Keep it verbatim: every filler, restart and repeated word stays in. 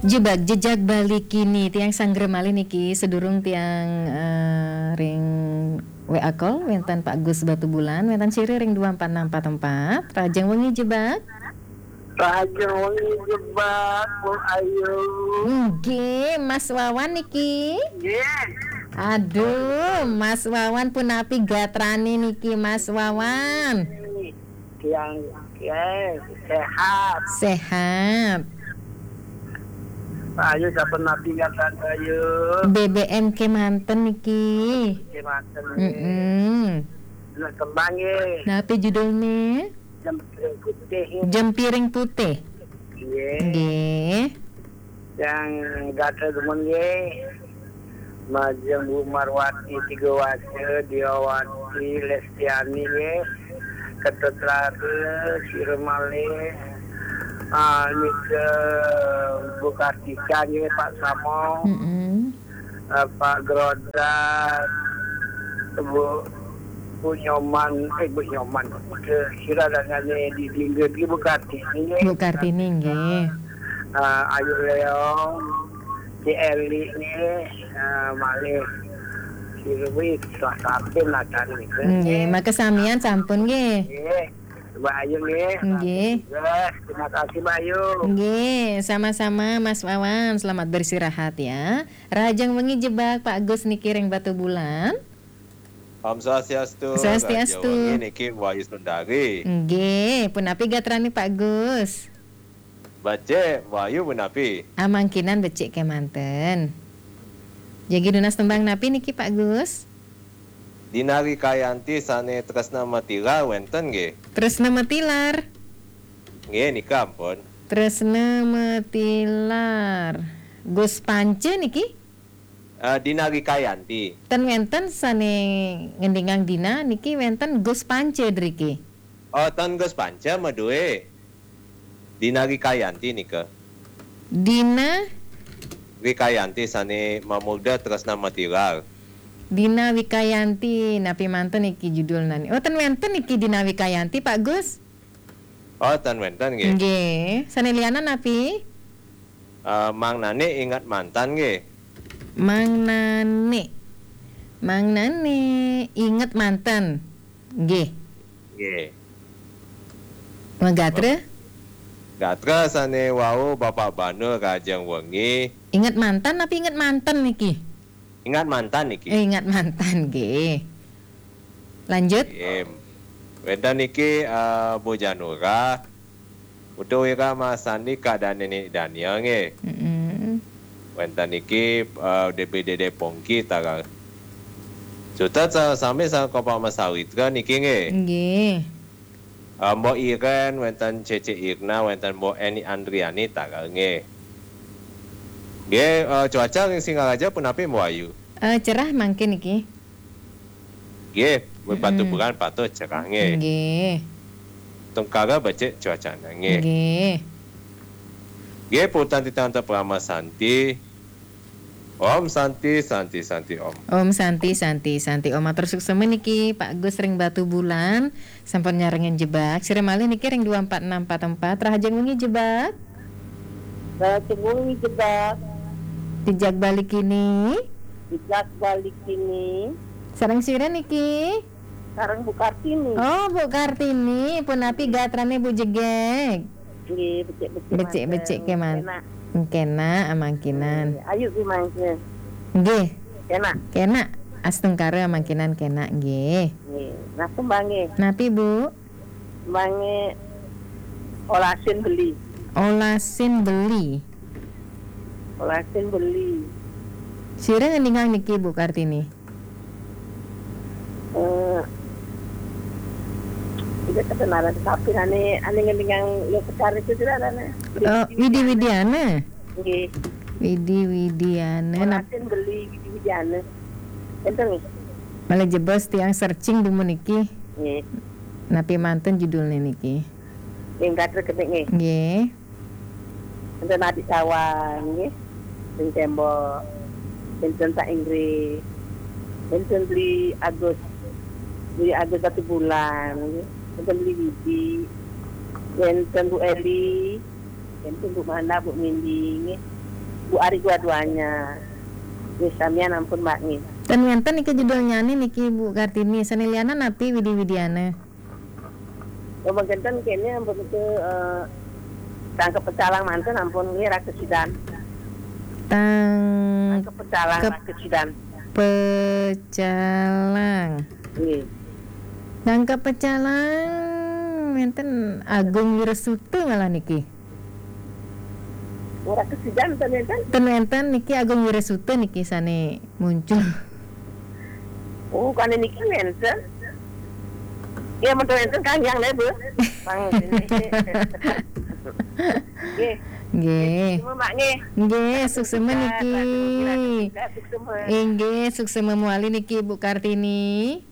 Jebak jejak balik kini tiang sanggra malih niki, sedurung tiang, eh, ring W A call, wénten Pak Gus Batubulan, wénten sira ring dua empat enam empat empat. Rahajeng wengi Jebak. Rahajeng wengi Jebak, Bu Ayu. Nggih, Mas Wawan niki. Nggih. Aduh, Mas Wawan punapi gatrané niki, Mas Wawan? Tiang, nggih, sehat. Sehat. Ayu, sampun napi gatrané, Ayu? B B M kémanten niki. Kémanten, nggih. Mm-mm. Nah, tembang, nggih. Napi judulné? Jempiring Putih. Jempiring Putih. Nggih. Nggih. Tiang gatra dumun, nggih. Majeng Bu Marwati, Tiga Waca, Diawati, Lestiani, nggih. Ketut Rara, sira malih, ah, nika Bu Kartika, nggih, Pak Samo. Mm-mm. Eh, Pak Grodas, Bu, Bu Nyoman, eh, Bu Nyoman, ke sira dangané di Dingge, di Bu Kartini, nggih. Bu Kartini, nggih. Eh, Ayu Leong, Ci Eli, nggih, eh, malih. Sira wis, salah sampun lah cari, nggih. Nggih, makasamian sampun, nggih. Nggih, Mbak Ayu, nggih. Nggih. Terima kasih, Mbak Ayu. Nggih, sama-sama, Mas Wawan. Selamat beristirahat, ya. Rahajeng wengi Jebak, Pak Gus niki ring Batubulan. Om Swastiastu. Swastiastu. Rahajeng wengi niki Wayu Sundari. Nggih, punapi gatrané Pak Gus? Becik, Wayu punapi? Amangkinan becik kémanten. Jagi nunas tembang napi niki Pak Gus? Dina Rikayanti sané Tresna Matilar wénten nggih? Tresna Matilar. Nggih, nika ampun. Tresna Matilar. Gus Panca niki? Eh, Dina Rikayanti. Ten wénten sané ngendingang Dina niki, wénten Gus Panca driki. Oh, ten Gus Panca madué. Dina Rikayanti nika. Dina? Rikayanti sané mamurda Tresna Matilar. Dina Wikayanti, napi manten niki judulné? Oh, ten wénten niki Dina Wikayanti, Pak Gus? Oh, ten wénten nggih. Nggih. Sané lianan napi? Eh, Mang Nani Inget Mantan nggih. Mang Nani. Mang Nani Inget Mantan. Nggih. Nggih. Magatra? Gatra sané wau Bapak Banul Rahajeng Wengi. Inget Mantan napi Inget Manten niki? Ingat Mantan niki. Eh, Ingat Mantan nggih. Lanjut. Nggih. Wénten niki, eh, Bu Janura. Putu Wira Masandi, Kak Dani Daniel nggih. Mm-mm. Wénten niki, eh, D P D D Pongki tagal. Sutet sa-, sami sareng Kopa Mas Sawitra niki nggih. Nggih. Eh, Mbok Iren, wénten Cece Irna, wénten Mbok Eni Andriani tagal nggih. Nggih, eh, cuaca ring Singaraja punapi, Mbok Ayu? Eh, cerah mangkin niki. Nggih, wit Mm-mm. Batubulan patut cerah nggih. Nggih. Tengkara becik cuacana nggih. Nggih. Nggih, puputang titiang antuk parama santi. Om Santi, Santi, Santi Om. Om Santi, Santi, Santi Om. Matur suksma niki Pak Gus ring Batubulan, sampun nyarengin Jebak. Sira malih niki ring dua empat enam empat empat. Rahajeng wengi Jebak. Rahajeng wengi Jebak. Jejak balik kini. Jejak balik kini. Sareng sira niki? Sareng Bu Kartini. Oh, Bu Kartini, punapi gatrane Bu Jegeg? Nggih, becik-becik. Becik-becik mantun. Kemanten. Kenak. Kenak, amangkinan. Nggih, ayu ki mangke. Nggih. Kenak. Kenak, astungkara amangkinan kenak nggih. Nggih. Nah, tembang nggih. Napi, Bu? Tembang nggih Olasin Beli. Olasin Beli. Olasin Beli. Sira ngeningang niki, Bu Kartini? Eh, tidak kedengaran, tapi ane, ane ngendingang Leo Sekar itu tidak ada, nah. Eh, Widi Widiana. Nggih. Widi Widiana. Nah, Olasin Beli Widi Widiana. Enten nih. Malah jebos tiang searching dumun niki. Nggih. Napi manten judulne niki? Ing gatra kenik nggih. Nggih. Enten Adik Sawan nggih. Ing tembok. Enten Pak Inggris. Enten Beli Agus. Beli Agus Batubulan nggih. Enten Beli Widi. Enten Bu Eli. Enten Bu Mana, Bu Mindi nggih. Bu Ari dua-duanya. Nggih, samian ampun, Mbak, nggih. Ten wenten niki judulnya niki, Bu Kartini. Sané lianan napi Widi Widiana? Oh, mangkenten kéné ampun itu, eh, tangkep pecalang manten ampun nggih, Rakesidan. Tang- Tangkep pecalang, Kep- Rakesidan. Pecalang. Nggih. Tangkep pecalang wenten Agung Wirasuta malah niki. Ora kesidan ten wenten? Ten wenten niki Agung Wirasuta niki sané muncul. Oh, kan niki wenten. Ya, mboten wenten Kang Yang lé, Bu. Pang ini. Nggih. Nggih. Suksma, Mak, nggih. Nggih, suksma niki. Suksma. Inggih, suksma muali niki, Bu Kartini.